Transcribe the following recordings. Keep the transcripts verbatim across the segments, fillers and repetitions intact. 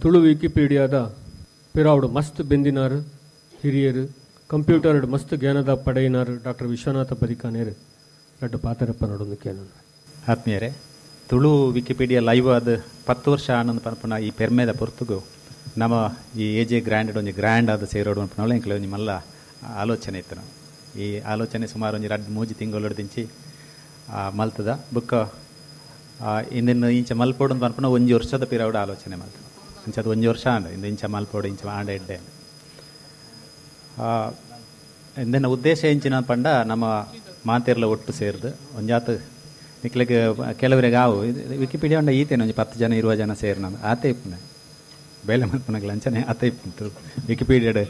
ತುಳು ವಿಕಿಪೀಡಿಯಾದ ಪಿರಾವುಡು ಮಸ್ತ್ ಬೆಂದಿನಾರು ಹಿರಿಯರು ಕಂಪ್ಯೂಟರ್ ಮಸ್ತ್ ಜ್ಞಾನದ ಪಡೆಯಿನಾರು ಡಾಕ್ಟರ್ ವಿಶ್ವನಾಥ ಬದಿಕಾನೇರು ರಡ್ಡು ಪಾತರಪ್ಪ ನಡೊಂದು ಕೇಳೋಣ. ಆತ್ಮೀಯರೇ, ತುಳು ವಿಕಿಪೀಡಿಯಾ ಲೈವ್ ಆದ ಪತ್ತು ವರ್ಷ ಆನಂದ ಪನ್ಪುನ ಈ ಪೆರ್ಮೆದ ಪೊರ್ತುಗು ನಮ್ಮ ಈ ಎ ಜೆ ಗ್ರ್ಯಾಂಡ್ ಒಂಜಿ ಗ್ರ್ಯಾಂಡ್ ಆದ ಸೇರೋಡು ಪನ್ಪುನವಳು ಎಂಕ್ಲೆ ಒಂಜಿ ಮಲ್ಲ ಆಲೋಚನೆ ಇತ್ತು. ನಾವು ಈ ಆಲೋಚನೆ ಸುಮಾರು ಒಂಜಿ ರಡ್ಡು ಮೂಜಿ ತಿಂಗಳು ದಿಂಚಿ ಮಲ್ತದ ಬುಕ್ಕ ಇಂದಿನ ಇಂಚ ಮಲ್ಪೋಡು ಪನ್ಪುನ ಒಂಜಿ ವರ್ಷದ ಪಿರವಡು ಆಲೋಚನೆ ಮಲ್ತ ಇಂಚದ ಒಂಜಿ ವರ್ಷ ಆಂಡ ಇಂದು ಇಂಚ ಮಲ್ಪೋಡು ಇಂಚ ಆಂಡ ಎಡ್ಡೆ ಇಂದಿನ ಉದ್ದೇಶ ಇಂಚಿನ ಪಂಡ ನಮ್ಮ ಮಾತೆರ್ಲ ಒಟ್ಟು ಸೇರ್ದು ಒಂಜಾತ ನಿಕ್ಲೆಗ್ ಕೆಲವರಿಗೆ ಆವು ವಿಕಿಪೀಡಿಯಾ ಉಂಡ ಈತೇನೆ ಒಂಜಿ ಪತ್ತು ಜನ ಇರುವ ಜನ ಸೇರ್ ನಾನು ಆತೆ ಇಪ್ಪುನೆ ಬೇಲೆ ಮಲ್ಪನಗ್ಲ ಅಂಚನೆ ಆತೆ ಇಪ್ಪುಂತು ವಿಕಿಪೀಡಿಯಾಡ್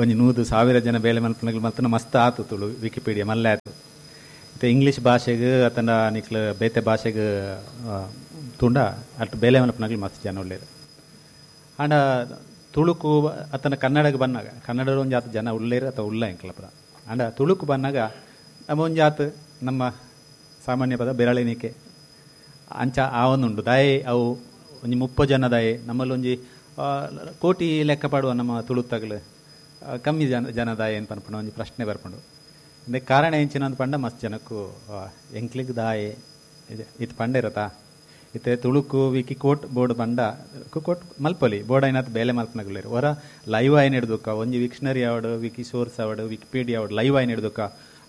ಒಂಜಿ ನೂದು ಸಾವಿರ ಜನ ಬೇಲೆ ಮಲ್ಪನಗ್ಲ ಮಲ್ತನ ಮಸ್ತ್ ಆತು ತುಳು ವಿಕಿಪೀಡಿಯಾ ಮಲ್ಲೆ ಆತು. ಇತ್ತೆ ಇಂಗ್ಲೀಷ್ ಭಾಷೆಗೆ ಅತನ ನಿಕ್ಲ ಬೇತೆ ಭಾಷೆಗೆ ತುಂಡ ಅಟ್ ಬೇಲೆ ಮಲ್ಪನಗ್ಲ ಮಸ್ತ್ ಜನ ಒಳ್ಳೇದು. ಆಂಡ ತುಳುಕು ಅತನ ಕನ್ನಡಕ್ಕೆ ಬಂದಾಗ ಕನ್ನಡ ಒಂಜಾತ ಜನ ಉಳ್ಳೇರು ಅಥವಾ ಉಳ್ಳ ಎಂಕ್ಲಪದ. ಆಂಡ ತುಳುಕು ಬಂದಾಗ ನಮ್ಮ ಒಂಜಾತ ನಮ್ಮ ಸಾಮಾನ್ಯ ಪದ ಬೆರಳೆಣಿಕೆ ಅಂಚ ಆವೊಂದುಂಡು ದಾಯೆ ಅವು ಒಂಜಿ ಮುಪ್ಪ ಜನ ದಾಯೆ ನಮ್ಮಲ್ಲಿ ಒಂಜಿ ಕೋಟಿ ಲೆಕ್ಕ ಪಾಡುವ ನಮ್ಮ ತುಳುತ್ತಗಲು ಕಮ್ಮಿ ಜನ ಜನ ದಾಯೆ ಅಂತ ಪನ್ಪುಂಡು ಒಂಜಿ ಪ್ರಶ್ನೆ ಬರ್ಪುಂಡು. ಇಂದೆ ಕಾರಣ ಎಂಚಿನ ಅಂದ್ ಪಂಡ ಮಸ್ತ್ ಜನಕ್ಕೂ ಎಂಕ್ಲಿಗ್ ದಾಯೆ ಇತ್ತು ಪಂಡಿರತಾ ಇತ್ತೆ ತುಳುಕು ವಿಕಿ ಕೋಟ್ ಬೋರ್ಡ್ ಬಂಡ ಕೋಟ್ ಮಲ್ಪೊಲಿ ಬೋರ್ಡ್ ಐನಾತ್ ಬೇಲೆ ಮಲ್ಪನಗುಲೇರು ಹೊರ ಲೈವ್ ಆಯ್ನ ಹಿಡ್ದುಕ್ಕ ಒಂಜಿ ವಿಕ್ಷನರಿ ಆವಡು ವಿಕಿ ಸೋರ್ಸ್ ಆವಡು ವಿಕಿಪೀಡಿಯಾ ಆವಡು ಲೈವ್ ಆಯ್ನ ಹಿಡ್ದುಕ್ಕ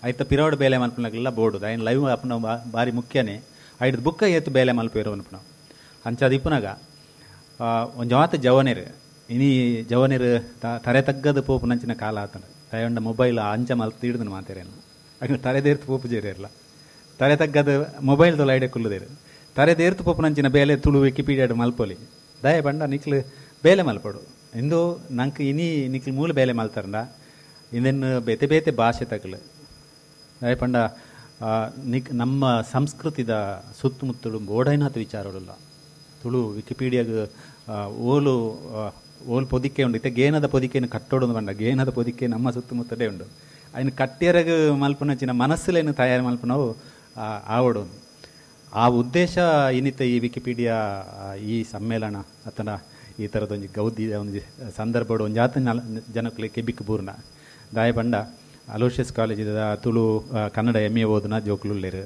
ಐತ ಪಿರೋಡ್ ಬೇಲೆ ಮಲ್ಪನಗಲ್ಲ ಬೋರ್ಡು ಐನ್ ಲೈವ್ ಅಪ್ಪನ ಬಾರಿ ಮುಖ್ಯನೇ ಐಡ್ದು ಬುಕ್ಕ ಏತು ಬೇಲೆ ಮಲ್ಪೇರು ಅನ್ಪುನ ಅಂಚಾದ ಇಪ್ಪುನಾಗ ಒಂಜಾತ ಜವನೇರು ಇನಿ ಜವನೇರು ತರೆ ತಗ್ಗದ ಪೋಪುನಂಚಿನ ಕಾಲ ಆತನ ದಯಂಡ ಮೊಬೈಲ್ ಅಂಚ ಮಲ್ತು ಹಿಡ್ದು ಮಾತೇರೇನು ಅಗ್ನ ತರೆ ದೇರ್ತು ಪೋಪು ಜೇರಿರಲ್ಲ ತರೆ ತಗ್ಗದ ಮೊಬೈಲ್ ತೊಲ ಐಡೆ ಕುಲ್ಲುದೇರು ತರೆ ದೇರ್ತು ಪೋಪುನಂಚಿನ ಬೇಲೆ ತುಳು ವಿಕಿಪೀಡಿಯಾಡ್ ಮಲ್ಪೊಲಿ ದಯ ಬಂಡ ನಿಕ್ಲು ಬೇಲೆ ಮಲ್ಪಡು ಇಂದು ನಂಗೆ ಇನಿ ನಿಕ್ಲು ಮೂಲ ಬೇಲೆ ಮಲ್ತಾರಂಡ ಇಂದೆನ್ನು ಬೇತೆ ಬೇತೆ ಭಾಷೆ ತಗಲು ದಯ ಪಂಡ ನಿಕ್ ನಮ್ಮ ಸಂಸ್ಕೃತಿದ ಸುತ್ತಮುತ್ತಲು ಬೋಡೈನಾಥ ವಿಚಾರಗಳೆಲ್ಲ ತುಳು ವಿಕಿಪೀಡಿಯಾಗ ಓಲು ಓಲ್ ಪೊದಿಕೆ ಉಂಡು ಇತ್ತೆ ಗೇನದ ಪೊದಿಕೆಯನ್ನು ಕಟ್ಟೋಡು ಬಂಡ ಗೇನದ ಪೊದಿಕೆ ನಮ್ಮ ಸುತ್ತಮುತ್ತಲೇ ಉಂಡು ಅಯ್ನ ಕಟ್ಟಿಯರಗ ಮಲ್ಪುನಂಚಿನ ಮನಸ್ಸುಲೇನು ತಯಾರು ಮಲ್ಪುನವು ಆವಡು ಆ ಉದ್ದೇಶ ಇನ್ನಿತ ಈ ವಿಕಿಪೀಡಿಯಾ ಈ ಸಮ್ಮೇಳನ ಅಥವಾ ಈ ಥರದ ಒಂಜಿ ಗೌದಿ ಒಂಜಿ ಸಂದರ್ಭಡು ಒಂಜಾತ ಜನಕ್ಕಲೆ ಕೆಬಿಕ್ ಬೂರ್ನ ದಾಯ ಪಂಡ ಅಲೋಷಿಯಸ್ ಕಾಲೇಜಿದ ತುಳು ಕನ್ನಡ ಎಮ್ ಎ ಓದುನ ಜೋಕುಲುಲ್ಲೇರು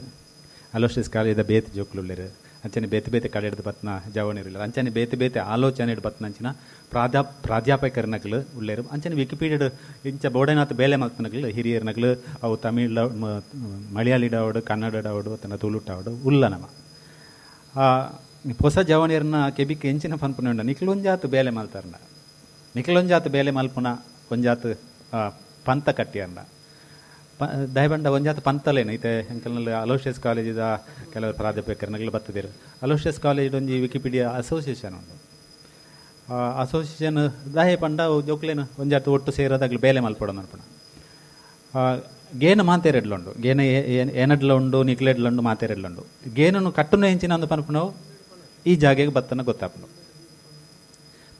ಅಲೋಷಿಯಸ್ ಕಾಲೇಜಿದ ಬೇತೆ ಜೋಕುಲುಲ್ಲೇರು ಅಂಚನೆ ಬೇತೆ ಬೇತೆ ಕಡೆ ಬತ್ನ ಜವನಿರಲ್ಲ ಅಂಚನೆ ಬೇತೆ ಬೇತೆ ಆಲೋಚನೆ ಬತ್ನಂಚಿನ ಪ್ರಾಧ್ಯಾ ಪ್ರಾಧ್ಯಾಪಕರನಗಲು ಉಳ್ಳೇರು ಅಂಚನೆ ವಿಕಿಪೀಡಿಯಡ್ ಇಂಚ ಬೋಡೈನಾಥ ಬೇಲೆ ಮಲ್ತನಗಲು ಹಿರಿಯರ್ನಗಲು ಅವು ತಮಿಳ್ ಮಲಯಾಳಿಡಾವಡು ಕನ್ನಡಡಾವಡು ತನ್ನ ತುಳುಟಾವಡು ಉಲ್ಲ ನಮ ಹೊಸ ಜವನಿಯರ್ನ ಕೆಬಿಕ್ ಎಂಚಿನ ಪನ್ಪುನ ಉಂಡ ನಿಕ್ಲೊಂಜಾತು ಬೇಲೆ ಮಲ್ತಾರನ ನಿಕ್ಲೊಂಜಾತು ಬೇಲೆ ಮಲ್ಪುನ ಒಂಜಾತು ಪಂತ ಕಟ್ಟಿಯರ್ನ ಪ ದಯಬಂಡ ಒಂಜಾತ ಪಂತಲೇನು ಇತ್ತೆ ಎಂಕಲ್ನಲ್ಲಿ ಅಲೋಷಿಯಸ್ ಕಾಲೇಜಿದ ಕೆಲವರು ಪ್ರಾಧ್ಯಾಪಕರನಗಲು ಬರ್ತದಿರು ಅಲೋಷಿಯಸ್ ಕಾಲೇಜ್ ಒಂಜಿ ವಿಕಿಪೀಡಿಯಾ ಅಸೋಸಿಯೇಷನ್ ಉಂಡು ಅಸೋಸಿಯೇಷನ್ ದಾಯೆ ಪಂಡ ಜೋಕ್ಲೇನು ಒಂಜಾತ ಒಟ್ಟು ಸೇರೋದಾಗ್ಲಿ ಬೇಲೆ ಮಲ್ಪಡ ಮಲ್ಪಣ ಗೇನ ಮಾತೇರೆಡ್ಲುಂಡು ಗೇನ ಏನಡ್ಲ ಉಂಡು ನಿಕ್ಲೆಡ್ಲುಂಡು ಮಾತೇರೆಡ್ಲುಂಡು ಗೇನನ್ನು ಕಟ್ಟುನ ಹೆಂಚಿನ ಅಂದು ಪನ್ಪುನವು ಈ ಜಾಗೆಗೆ ಬತ್ತನ ಗೊತ್ತಾಪುಂಡು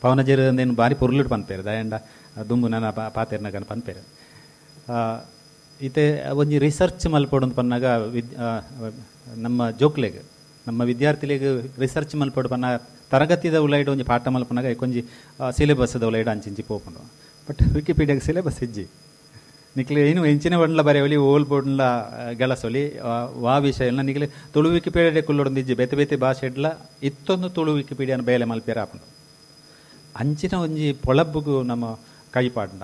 ಪವನಜೇರು ಅಂದೇನು ಬಾರಿ ಪೊರ್ಲುಡು ಪನ್ಪೇರು ದಯಂಡ ದುಂಬು ನನ್ನ ಪಾತೇರ್ನಗನ ಪನ್ಪೇರು ಇತ್ತೆ ಒಂಜಿ ರಿಸರ್ಚ್ ಮಲ್ಪೊಡು ಪನ್ನಾಗ ವಿದ್ ನಮ್ಮ ಜೋಕ್ಲೆಗ್ ನಮ್ಮ ವಿದ್ಯಾರ್ಥಿಲೆಗ್ ರಿಸರ್ಚ್ ಮಲ್ಪೊಡು ಪನ್ನ ತರಗತಿದ ಉಲೈಡ್ ಒಂಜಿ ಪಾಠ ಮಲ್ಪನಾಗ ಒಂಜಿ ಸಿಲೆಬಸ್ದ ಉಲೈಡ್ ಅಂಚಿಂಚಿ ಪೋಪುಂಡು ಬಟ್ ವಿಕಿಪೀಡಿಯಾಗ ಸಿಲೆಬಸ್ ಇಜ್ಜಿ ನಿಕ್ಲೆ ಏನು ಎಂಚಿನ ಬಂಡ್ಲ ಬರೆಯವಲಿ ಓಲ್ ಬೋಡ್ಲ ಗಳಸೊಲಿ ವಾ ವಿಷಯ ಎಲ್ಲ ನಿಕ್ಲೆ ತುಳು ವಿಕಿಪೀಡಿಯಾ ಕುಲ್ಲೊಡೊಂದು ಇಜ್ಜಿ ಬೇತೆ ಬೇತೆ ಭಾಷೆಡ್ಲ ಇತ್ತೊಂದು ತುಳು ವಿಕಿಪೀಡಿಯಾನ ಬೇಲೆ ಮಲ್ಪೇರ ಆಪುಂಡು ಅಂಚಿನ ಒಂಜಿ ಪೊಳಬ್ಬುಗು ನಮ್ಮ ಕೈಪಾಡ್ಂಡ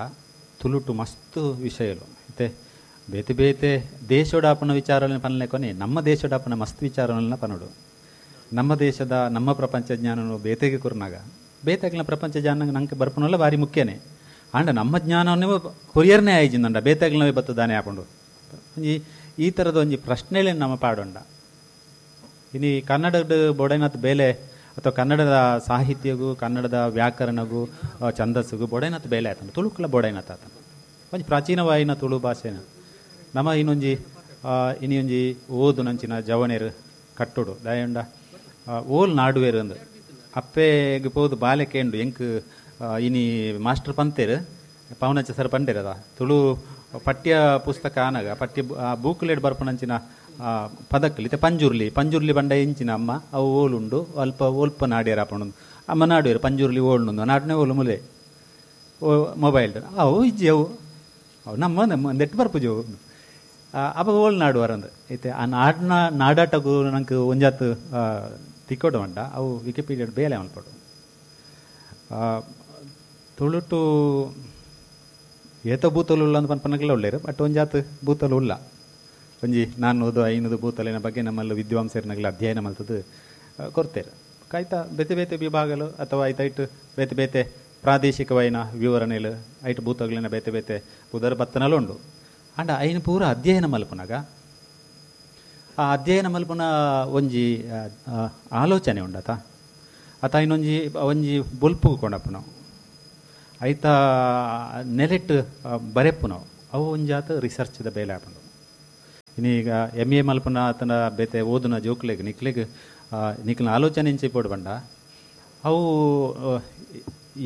ತುಳುಟು ಮಸ್ತ್ ವಿಷಯಲು ಇತ್ತೆ ಬೇತೆ ಬೇತೆ ದೇಶೋಡಾಪನ ವಿಚಾರಗಳನ್ನ ಪನ್ಲೆಕೊನೆ ನಮ್ಮ ದೇಶೋಡಾಪನ ಮಸ್ತ್ ವಿಚಾರಗಳನ್ನ ಪನೋಡು ನಮ್ಮ ದೇಶದ ನಮ್ಮ ಪ್ರಪಂಚ ಜ್ಞಾನನು ಬೇತೆಗೆ ಕುರ್ನಾಗ ಬೇತೆಗ್ಲ ಪ್ರಪಂಚ ಜ್ಞಾನ ನಂಗೆ ಬರ್ಪನಲ್ಲ ಭಾರಿ ಮುಖ್ಯನೇ ಆಂಡ ನಮ್ಮ ಜ್ಞಾನವನ್ನೇ ಕೊರಿಯರ್ನೇ ಆಯ್ಜಿಂದಂಡ ಬೇತೆಗ್ಲವೇ ಬತ್ತದಾನೆ ಹಾಕೊಂಡು ಒಂಜಿ ಈ ಥರದ ಒಂಜಿ ಪ್ರಶ್ನೆಗಳನ್ನ ನಮ್ಮ ಪಾಡೊಂಡ ಇನಿ ಕನ್ನಡದ ಬೊಡೈನಾಥ್ ಬೇಲೆ ಅಥವಾ ಕನ್ನಡದ ಸಾಹಿತ್ಯಗೂ ಕನ್ನಡದ ವ್ಯಾಕರಣಗೂ ಛಂದಸ್ಸುಗೂ ಬೊಡೈನಾಥ್ ಬೇಲೆ ಆತನ ತುಳುಕುಲ ಬೊಡೈನಾಥ್ ಆತನ ಒಂಜಿ ಪ್ರಾಚೀನವಾಯಿನ ತುಳು ಭಾಷೆನ ನಮ್ಮ ಇನ್ನೊಂಜಿ ಇನ್ನೊಂಜಿ ಓದು ನಂಚಿನ ಜವನೇರು ಕಟ್ಟೋಡು ದಯಂಡ ಓಲ್ ನಾಡುವೇರು ಅಂದು ಅಪ್ಪೆಗೆ ಪೋದು ಬಾಲೆ ಕೇಂಡು ಎಂಕ್ ಇನಿ ಮಾಸ್ಟರ್ ಪಂತೇರು ಪವನಚ್ಚ ಸರ್ ಪಂಡೇರದ ತುಳು ಪಠ್ಯ ಪುಸ್ತಕ ಆನಾಗ ಪಠ್ಯ ಬೂಕುಲೇಡ್ ಬರ್ಪುನಂಚಿನ ಪದಕ್ಕಲು ಇತ್ತೆ ಪಂಜುರ್ಲಿ ಪಂಜುರ್ಲಿ ಬಂಡ ಎಂಚಿನ ಅಮ್ಮ ಅವು ಓಲುಂಡು ಅಲ್ಪ ಒಲ್ಪ ನಾಡ್ಯರ ಆಪುಂಡು ಅಮ್ಮ ನಾಡುವೆರು ಪಂಜುರ್ಲಿ ಓಳುಂಡು ನಾಡನೆ ಓಲು ಮುಲೆ ಓ ಮೊಬೈಲ್ ಅವು ಇಜ್ಜಿ ಅವು ಅವು ನಮ್ಮ ನಮ್ಮ ನೆಟ್ ಬರ್ಪುಜಿ ಅವು ಅಪ್ಪ ಓಲ್ ನಾಡುವರಂದು ಇತ್ತೆ ಆ ನಾಡಿನ ನಾಡಾಟಗೂ ನಂಗೆ ಒಂಜಾತ್ ತಿಕ್ಕೋಡು ಮಂಡ ಅವು ವಿಕಿಪೀಡಿಯಾ ಬೇಲೆ ಮಲ್ಪಡು. ತುಳುಟು ಏತ ಬೂತಲು ಉಲ್ಲ ಅಂತ ಪನ್ಪನಗಲ ಉಳ್ಳೇರು ಬಟ್ ಒಂಜಾತ್ ಬೂತಲು ಉಲ್ಲ ಒಂಜಿ ನಾನ್ನೂದು ಐನೂರು ಬೂತಲಿನ ಬಗ್ಗೆ ನಮ್ಮಲ್ಲಿ ವಿದ್ವಾಂಸರಿನಗಲ ಅಧ್ಯಯನ ಮಲ್ತದ್ದು ಕೊಡ್ತೇವೆ. ಕಾಯ್ತಾ ಬೇತೆ ಬೇತೆ ವಿಭಾಗಲು ಅಥವಾ ಐತೈಟ್ ಬೇತೆ ಬೇತೆ ಪ್ರಾದೇಶಿಕವೈನ ವಿವರಣೆಲು ಐಟ್ ಬೂತಗಳಿನ ಬೇತೆ ಬೇತೆ ಪುದರ್ ಬತ್ತನಲು ಉಂಡು. ಅಂಡ ಐನು ಪೂರ ಅಧ್ಯಯನ ಮಲ್ಪುನಾಗ ಆ ಅಧ್ಯಯನ ಮಲ್ಪುನ ಒಂಜಿ ಆಲೋಚನೆ ಉಂಡತ ಅತ ಇನ್ನೊಂಜಿ ಒಂಜಿ ಬೊಲ್ಪು ಕೊಂಡಪ್ಪು ನಾವು ಐತ ನೆಲೆಟ್ಟು ಬರೆಪ್ಪು ನಾವು ಅವು ಒಂಜಾತ ರಿಸರ್ಚ್ದ ಬೇಲೆ ಆಪುಂಡು. ಇನ್ನೀಗ ಎಮ್ ಎ ಮಲ್ಪುನ ಆತನ ಬೇತೆ ಓದುನ ಜೋಕ್ಲೆಗ್ ನಿಕ್ಲೆಗ್ ನಿಕ್ಲಿನ ಆಲೋಚನೆ ಇಂಚೆ ಪೋಡು ಬಂಡ ಅವು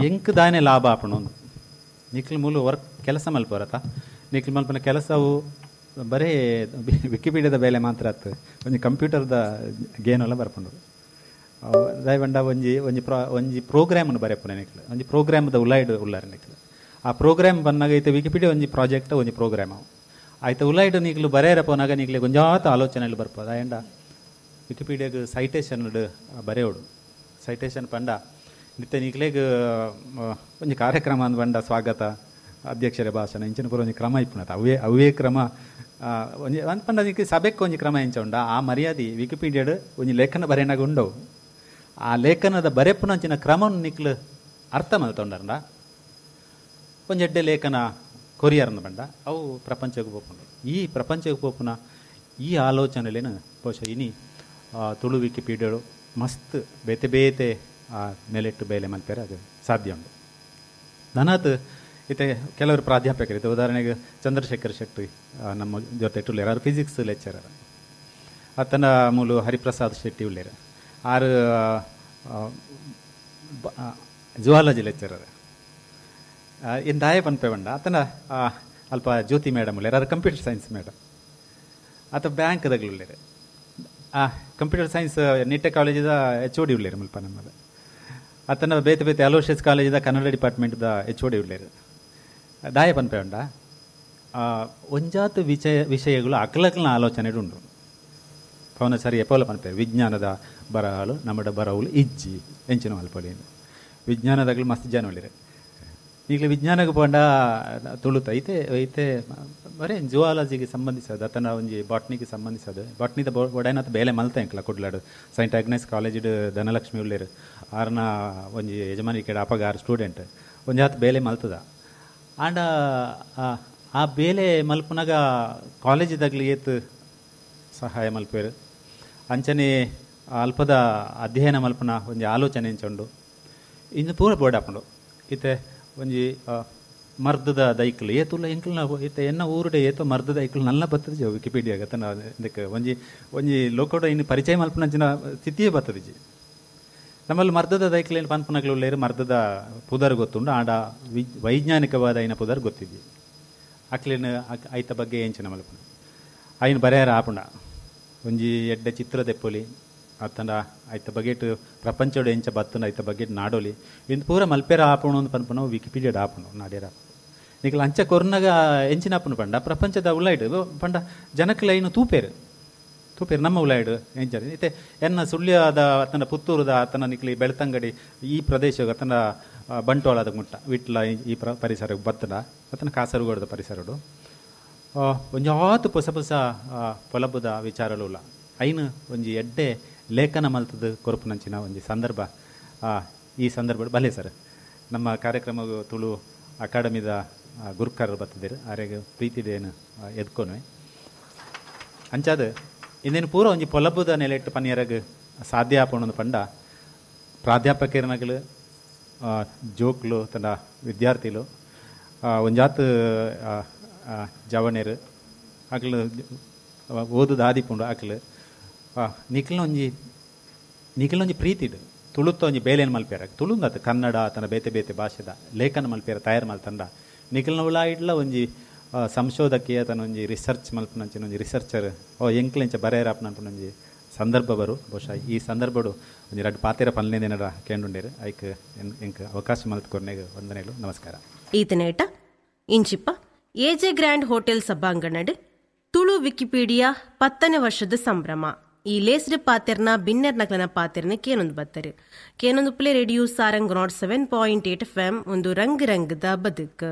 ಎಂಕ್ ದಾನೆ ಲಾಭ ಆಪುಂಡು. ನಿಕ್ಲು ಮೂಲ ವರ್ಕ್ ಕೆಲಸ ಮಲ್ಪರತ ನಿಕ್ಲು ಮಲ್ಪನ ಕೆಲಸವು ಬರೇ ವಿಕಿಪೀಡಿಯಾದ ಬೇಲೆ ಮಾತ್ರ ಆತು ಒಂಜಿ ಕಂಪ್ಯೂಟರ್ದ ಗೇನೆಲ್ಲ ಬರ್ಪುಂಡು. ದಯವಂಡ ಒಂಜಿ ಒಂಜಿ ಪ್ರಾ ಒಂಜಿ ಪ್ರೋಗ್ರಾಮನ್ನು ಬರೆಪುನೆ ನಿಕ್ಲು ಒಂಜಿ ಪ್ರೋಗ್ರಾಮ್ದ ಉಲಾಯ್ಡ್ ಉಲ್ಲಾರ ನಿಕ್ಲು ಆ ಪ್ರೋಗ್ರಾಮ್ ಬಂದಾಗ ಐತೆ ವಿಕಿಪೀಡಿಯಾ ಒಂಜಿ ಪ್ರಾಜೆಕ್ಟ್ ಒಂಜಿ ಪ್ರೋಗ್ರಾಮ್ ಅವು ಆಯ್ತು ಉಲಾಯ್ಡ್ ನೀಗ್ಲು ಬರೆಯರ ಪೋನಾಗ ನೀಗ್ಲಿ ಒಂಜಾತ ಆಲೋಚನೆಯಲ್ಲಿ ಬರ್ಪೋದು. ಆಯಂಡ ವಿಕಿಪೀಡಿಯಾಗ ಸೈಟೇಷನ್ ಬರೆಯೋಡು ಸೈಟೇಷನ್ ಪಂಡ ನಿತ್ಯ ನೀಗ್ಲೇಗ್ ಒಂಜಿ ಕಾರ್ಯಕ್ರಮ ಅಂದ್ ಬಂಡ ಸ್ವಾಗತ ಅಧ್ಯಕ್ಷರ ಭಾಷಣ ಇಂಚಿನ ಪೂರ ಒಂಜಿ ಕ್ರಮ ಇಪ್ಪುನತ ಅವೇ ಅವೇ ಕ್ರಮ ಒಂಜಿ ಅಂದ್ ಪಂಡ ನಿಕ್ ಸಭೆಕ್ ಒಂಜಿ ಕ್ರಮ ಎಂಚ ಉಂಡ ಆ ಮರ್ಯಾದೆ ವಿಕಿಪೀಡಿಯಾಡ್ ಒಂಜಿ ಲೇಖನ ಬರೆಯನಾಗ ಉಂಡವು ಆ ಲೇಖನದ ಬರೆಪುನಂಚಿನ ಕ್ರಮವನ್ನು ನಿಕ್ಲು ಅರ್ಥ ಮಲ್ತೊಂಡರ್ನ ಒಂಜಿ ಎಡ್ಡೆ ಲೇಖನ ಕೊರಿಯರ್ನ ಬಂಡ ಅವು ಪ್ರಪಂಚಕ್ಕೆ ಪೋಪುಂಡು. ಈ ಪ್ರಪಂಚಕ್ಕೆ ಪೋಪುನ ಈ ಆಲೋಚನೆಲೇನು ಬಹುಶಃ ಇನಿ ತುಳು ವಿಕಿಪೀಡಿಯಾಡು ಮಸ್ತ್ ಬೇತೆ ಬೇತೆ ಆ ನೆಲೆಟ್ಟು ಬೇಲೆ ಮಲ್ಪೇರೆ ಅದು ಸಾಧ್ಯ ಉಂಟು. ನನಾತ್ ಇತ್ತೆ ಕೆಲವರು ಪ್ರಾಧ್ಯಾಪಕರು ಇತ್ತು ಉದಾಹರಣೆಗೆ ಚಂದ್ರಶೇಖರ್ ಶೆಟ್ಟಿ ನಮ್ಮ ಜೊತೆ ಉಳ್ಳೇರು ಆರು ಫಿಸಿಕ್ಸ್ ಲೆಕ್ಚರರ್ ಆತನ ಮೂಲು ಹರಿಪ್ರಸಾದ್ ಶೆಟ್ಟಿ ಉಳ್ಳೇರು ಆರು ಜುವಾಲಜಿ ಲೆಕ್ಚರರ್ ಇನ್ನು ದಾಯ ಪನ್ಪೆ ಬಂಡ ಆತನ ಅಲ್ಪ ಜ್ಯೋತಿ ಮೇಡಮ್ ಉಳ್ಳೇರು ಆರು ಕಂಪ್ಯೂಟರ್ ಸೈನ್ಸ್ ಮೇಡಮ್ ಆತ ಬ್ಯಾಂಕ್ದಾಗಲು ಉಳ್ಳೇರು ಆ ಕಂಪ್ಯೂಟರ್ ಸೈನ್ಸ್ ನಿಟ್ಟೆ ಕಾಲೇಜಿದ ಎಚ್ ಒ ಡಿ ಉಳ್ಳೇರು ಮುಲ್ಪ ನಮ್ಮದು ಆತನ ಬೇತೆ ಬೇತೆ ಅಲೋಷಿಯಸ್ ಕಾಲೇಜಿದ ಕನ್ನಡ ಡಿಪಾರ್ಟ್ಮೆಂಟ್ದ ಎಚ್ ಒ ಡಿ ಉಳ್ಳೇರು ದಾಯ ಪನ್ಪೆ ಉಂಡ ಒಂಜಾತ ವಿಷಯ ವಿಷಯಗಳು ಅಕ್ಲಕ್ಲನ ಆಲೋಚನೆ ಉಂಡು. ಪವನ ಸರಿ ಎಪೋಲ ಪನ್ಪೆ ವಿಜ್ಞಾನದ ಬರಹಲು ನಮ್ಮಡ ಬರಹುಲು ಇಜ್ಜಿ ಎಂಚಿನ ಮಲ್ಪೊಲಿ ವಿಜ್ಞಾನದಾಗಲು ಮಸ್ತ್ ಜನ ಉಳ್ಳೇರು. ಈಗಲೇ ವಿಜ್ಞಾನಕ್ಕೆ ಪಂಡ ತುಳುತ ಐತೆ ಐತೆ ಬರೇ ಜುವಾಲಜಿಗೆ ಸಂಬಂಧಿಸೋದು ಆತನ ಒಂಜಿ ಬಾಟ್ನಿಗೆ ಸಂಬಂಧಿಸೋದು ಬಾಟ್ನಿದ ಒಡೈನತ್ ಬೇಲೆ ಮಲ್ತ ಎಂಕ್ಲ ಕುಡ್ಲಾಡು ಸೈಂಟ್ ಆಗ್ನೆಸ್ ಕಾಲೇಜಿಡ್ ಧನಲಕ್ಷ್ಮಿ ಉಳ್ಳೇರು ಆರ್ನ ಒಂಜಿ ಯಜಮಾನಿಕೆ ಅಪಗ ಆರು ಸ್ಟೂಡೆಂಟ್ ಒಂಜಿ ಆತ ಬೇಲೆ ಮಲ್ತದ ಆಂಡ ಆ ಬೇಲೆ ಮಲ್ಪುನಾಗ ಕಾಲೇಜಿದಾಗಲಿ ಏತ್ ಸಹಾಯ ಮಲ್ಪೇರು ಅಂಚನೆ ಅಲ್ಪದ ಅಧ್ಯಯನ ಮಲ್ಪುನ ಒಂಜಿ ಆಲೋಚನೆ ಎಂಚುಂಡು ಇನ್ನು ಪೂರ ಬೋರ್ಡ್ ಆಪುಂಡು. ಇತ್ತೆ ಒಂಜಿ ಮರ್ದದ ದೈಕ್ಲು ಏತುಲ್ಲ ಎಂಕ್ಲ್ನ ಇತ್ತೆ ಎನ್ನ ಊರುಡೆ ಏತೋ ಮರ್ದದ ದೈಕ್ಲು ನಲ್ಲ ಬರ್ತದೆ ವಿಕಿಪೀಡಿಯಾಗ ತನ್ನ ಇದಕ್ಕೆ ಒಂಜಿ ಒಂಜಿ ಲೋಕೋಡ ಇನ್ನು ಪರಿಚಯ ಮಲ್ಪುನಂಚಿನ ಸ್ಥಿತಿಯೇ ಬರ್ತದಿಜಿ. ನಮ್ಮಲ್ಲಿ ಮರ್ದದ ದೈಕ್ಲೇನು ಪನ್ಪುನಕ್ಲು ಉಳ್ಳೇರು ಮರ್ದದ ಪುದರ್ ಗೊತ್ತುಂಡು ಆಡ ವಿ ವೈಜ್ಞಾನಿಕವಾದ ಐನ ಪುದರ್ ಗೊತ್ತಿದ್ವಿ ಅಕ್ಲೇನು ಐತ ಬಗ್ಗೆ ಎಂಚಿನ ಮಲ್ಪುನ ಐನು ಬರೆಯಾರ ಆಪುಂಡ ಒಂಜಿ ಎಡ್ಡೆ ಚಿತ್ರ ದೆಪ್ಪೊಲಿ ಅತ್ತಂಡ ಐತ ಬಗೆಟ್ ಪ್ರಪಂಚೋಡು ಎಂಚ ಬತ್ತುಂಡ ಐತ ಬಗೆಟ್ ನಾಡೋಲಿ ಇಂದು ಪೂರ ಮಲ್ಪೇರ ಆಪುಣು ಅಂತ ಪನ್ಪುನ ವಿಕಿಪೀಡಿಯಾಡ್ ಆಪುಂಡು ನಾಡ್ಯರ ನಿಕ್ಲ ಅಂಚ ಕೊರ್ನಗ ಎಂಚಿನ ಆಪುನು ಪಂಡ ಪ್ರಪಂಚದ ಉಲಾಯ್ಡ್ ಪಂಡ ಜನಕ್ಲ ಐನು ತೂಪೇರು ತೂಪೇರು ನಮ್ಮ ಉಲಾಯ್ಡ್ ಎಂಚ ಇತ್ತೆ ಎನ್ನ ಸುಳ್ಯದ ಅತನ ಪುತ್ತೂರುದ ಆತನ ನಿಕ್ಲಿ ಬೆಳ್ತಂಗಡಿ ಈ ಪ್ರದೇಶ ಅತನ ಬಂಟ್ವಾಳದ ಮುಟ್ಟ ವಿಟ್ಲ ಈ ಪ್ರ ಪರಿಸರ ಬತ್ತಡ ಅತನ ಕಾಸರಗೋಡದ ಪರಿಸರಡು ಒಂಜಾತು ಪೊಸ ಪೊಸ ಪೊಲಬುದ ವಿಚಾರಲು ಐನು ಒಂಜಿ ಎಡ್ಡೆ ಲೇಖನ ಮಲ್ತದ ಕೊರಪುನಂಚಿನ ಒಂಜಿ ಸಂದರ್ಭ ಈ ಸಂದರ್ಭ ಬಲೆ ಸರ್ ನಮ್ಮ ಕಾರ್ಯಕ್ರಮ ತುಳು ಅಕಾಡೆಮಿದ ಗುರುಕಾರರು ಬತ್ತಿದ್ದೀರು ಆರೆಗೆ ಪ್ರೀತಿದೇನು ಎದ್ಕೊನು ಅಂಚಾದ ಇಂದೇನು ಪೂರ ಒಂಜಿ ಪೊಲಬುದ ನೆಲೆಟ್ಟು ಪನ್ನಿಯರಗ್ ಸಾಧ್ಯ ಆಪುಂಡು ಪಂಡ ಪ್ರಾಧ್ಯಾಪಕರನಗಲು ಜೋಕ್ಲು ತನ್ನ ವಿದ್ಯಾರ್ಥಿಲು ಒಂಜಾತ್ ಜವಣೇರು ಅಕ್ಲು ಓದುದ ಆದಿಪುಂಡು ಅಕ್ಲು ನಿಕ್ಲಿನ ಒಂಜಿ ನಿಕ್ಲಿನ ಒಂಜಿ ಪ್ರೀತಿಡು ತುಳುತ್ತ ಒಂಜಿ ಬೇಲೆನ್ ಮಲ್ಪೇರ ತುಳುಂದತ್ ಕನ್ನಡ ತನ್ನ ಬೇತೆ ಬೇತೆ ಭಾಷೆದ ಲೇಖನ ಮಲ್ಪೇರ ತಯಾರು ಮಲ್ತಂಡ ನಿಕ್ಲಿನ ಉಳಾಯಿಡ್ಲ ಒಂಜಿ ಸಂಶೋಧಕಿ ತನ್ನ ಒಂಜಿ ರಿಸರ್ಚ್ ಮಲ್ಪುನಂಚಿನ ಒಂಜಿ ರಿಸರ್ಚರ್ ಓ ಎಂಕ್ಲೆಂಚ ಬರೆಯರಾಪನ ಒಂಜಿ ಸಂದರ್ಭ ಬರು. ಬಹುಶಃ ಈ ಸಂದರ್ಭಡು ಒಂಜಿ ರಡ್ಡ್ ಪಾತೆರ ಪನ್ಲೇಂದಿನಡ ಕೇಂಡುಂಡೇರು. ಐಕ್ ಎಂಕ್ ಅವಕಾಶ ಮಲ್ತ್ ಕೊರ್ನೆಗ್ ವಂದನೆಲು, ನಮಸ್ಕಾರ. ಈತನೇಟ ಇಂಚಿಪ್ಪ ಎಜೆ ಗ್ರ್ಯಾಂಡ್ ಹೋಟೆಲ್ ಸಭಾಂಗಣಡ್ ತುಳು ವಿಕಿಪೀಡಿಯಾ ಪತ್ತನೇ ವರ್ಷದ ಸಂಭ್ರಮ ಈ ಲೇಸ್ಡ್ ಪಾತೆರ್ನ ಬಿನ್ನೆರ್ ನಕ್ಲನ ಪಾತೆರ್ನ ಕೇನೊಂದು ಬತ್ತರು. ಕೇನೊಂದು play radio Sarang nought seven point eight F M, ಒಂದು ರಂಗ್ ರಂಗದ ಬದುಕು.